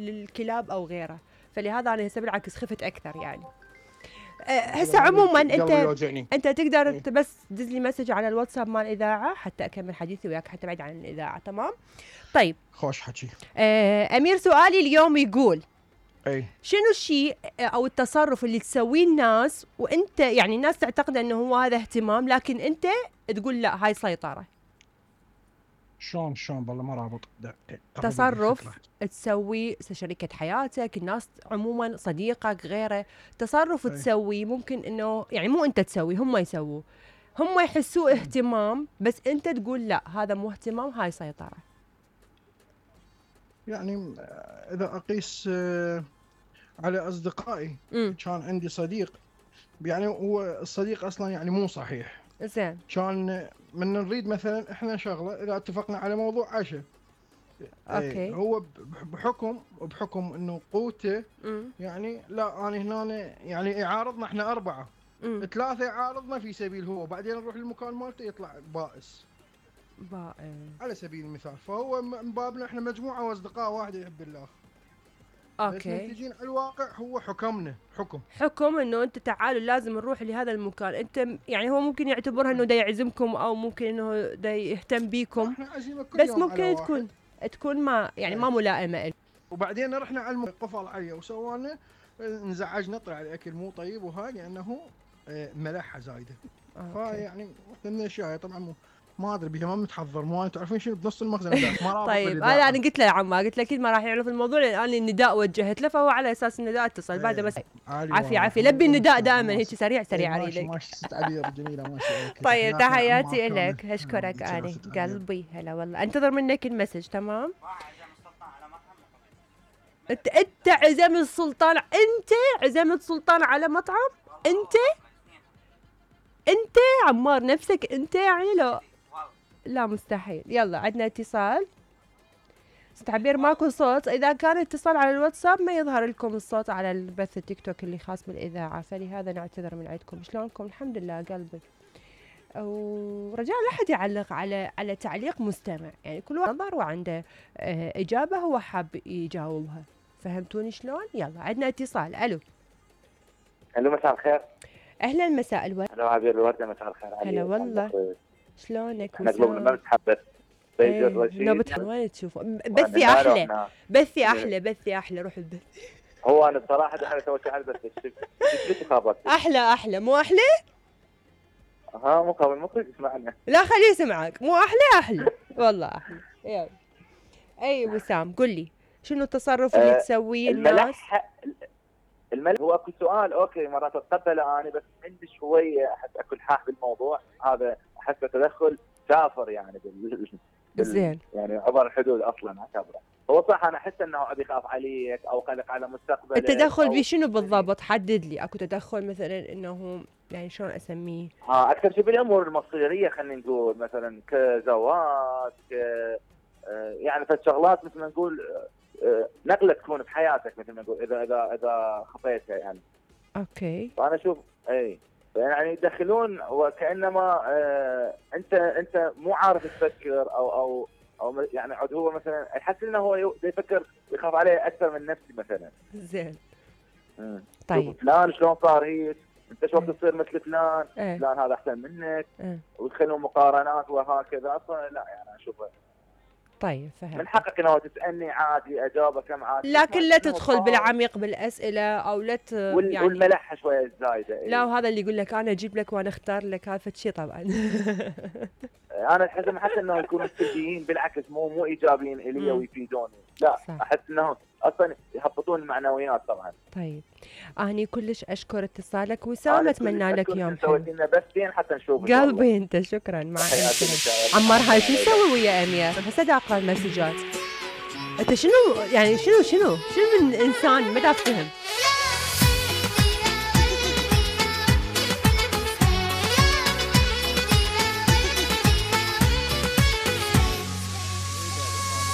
للكلاب او غيره. فلهذا انا هسه بالعكس خفت اكثر يعني. هسه عموما انت تقدر بس دز لي مسج على الواتساب مال الاذاعه حتى اكمل حديثي وياك حتى بعيد عن الاذاعه. تمام طيب خوش حكي. امير سؤالي اليوم يقول شنو الشيء او التصرف اللي تسويه الناس وانت يعني الناس تعتقد انه هو هذا اهتمام لكن انت تقول لا هاي سيطره؟ شلون والله ما رابط. تصرف تسوي شريكة حياتك، الناس عموما، صديقك، غيره، تصرف تسوي ممكن انه يعني مو انت تسوي هم يسووه، هم يحسوه اهتمام بس انت تقول لا هذا مو اهتمام هاي سيطرة. يعني اذا اقيس على اصدقائي كان عندي صديق يعني هو الصديق اصلا يعني مو صحيح زين، كان من نريد مثلا احنا شغله اذا اتفقنا على موضوع عشاء اوكي هو بحكم انه قوته يعني لا انا هنا يعني يعارضنا احنا 4 3 يعارضنا في سبيل هو بعدين نروح للمكان مالته يطلع بائس على سبيل المثال. فهو من بابنا احنا مجموعه واصدقاء واحد يحب الله. اوكي بس نتيجين على الواقع هو حكمنا حكم انه انت تعالوا لازم نروح لهذا المكان. انت يعني هو ممكن يعتبرها انه دا يعزمكم او ممكن انه دا يهتم بيكم بس ممكن تكون ما يعني ما ملائمه له. وبعدين رحنا على قفل عليه وسوانا انزعجنا طلع الاكل مو طيب وهاي لانه ملحه زايده. فيعني من الاشياء طبعا ما ادري بيها ما متحضر مو تعرفين شنو بنص المخزن ما طيب انا قلت له عمار قلت له اكيد ما راح يعرف الموضوع لان انا النداء وجهت له فهو على اساس النداء اتصل بعده بس عافيه لبي النداء دائما هيك سريع اريد لك. جميله ماشي. طيب تحياتي لك اشكرك اني قلبي هلا والله انتظر منك المسج. تمام انت عزمت السلطان عزمت سلطان على مطعم انت عمار نفسك انت يعني لا مستحيل. يلا عندنا اتصال. تعبير ماكو صوت. اذا كان اتصال على الواتساب ما يظهر لكم الصوت على البث التيك توك اللي خاص بالاذاعه فلهذا نعتذر من عندكم. شلونكم؟ الحمد لله قلبي. ورجاء لا احد يعلق على تعليق مستمع يعني كل واحد نظر وعنده اجابه هو حاب يجاوبها. فهمتوني شلون؟ يلا عندنا اتصال. الو مساء الخير. اهلا مساء الورد. هلا عبير الورده مساء الخير. هلا والله شلونك؟ احنا قلوبنا ما بتحبس بيجر رشيد. وين تشوفه؟ بثي احلى روح البث. هو انا الصراحه انا سويت على البث شو خابط احلى مو احلى؟ مو قابل مو يسمعنا. لا خليه يسمعك. مو احلى والله احلى. يلا اي وسام قل لي شنو التصرف اللي تسويه الناس؟ الملح هو اكو سؤال اوكي مرات اتقبله انا بس عندي شويه احس اكو الحاح بالموضوع هذا احس تدخل سافر يعني زين يعني عبر الحدود اصلا اعتبره. هو صح انا احس انه ابي يخاف عليك او قلق على مستقبلك. التدخل بشنو بالضبط؟ حدد لي. اكو تدخل مثلا انه يعني شلون اسميه؟ اكثر شيء بالامور المصيريه خلينا نقول مثلا كزواج يعني فالشغلات مثل ما نقول نقله تكون بحياتك مثل ما نقول اذا خفيتها يعني. اوكي. فانا اشوف يعني يدخلون وكانما انت مو عارف تفكر او يعني عاد هو مثلا يحس انه هو يفكر يخاف عليه اكثر من نفسي مثلا. زين. طيب فلان شلون صار هيك انت شو تصير مثل فلان فلان هذا احسن منك ويدخلون مقارنات وهكذا. اصلا لا يعني اشوفه طيب فهمت. من حقك انه تسالني عادي اجاوبك كم عادي لكن لا تدخل بالعميق بالاسئله او لا يعني والملحه شويه زايده. لا وهذا اللي يقول لك انا اجيب لك وانا اختار لك هذا شيء طبعا. انا احس حتى انه يكونوا سلبيين بالعكس مو ايجابيين الي ويفيدوني. لا صح. احس انه اصلا يهبطون المعنويات طبعا. طيب اني كلش اشكر اتصالك وسام. اتمنى لك يوم حلو. سويت لنا بثين حتى نشوف قلبي انت. شكرا. مع عمار هاي شو نسوي ويا امير؟ هسه اقرا المسجات. انت شنو يعني شنو من انسان ما دا فهم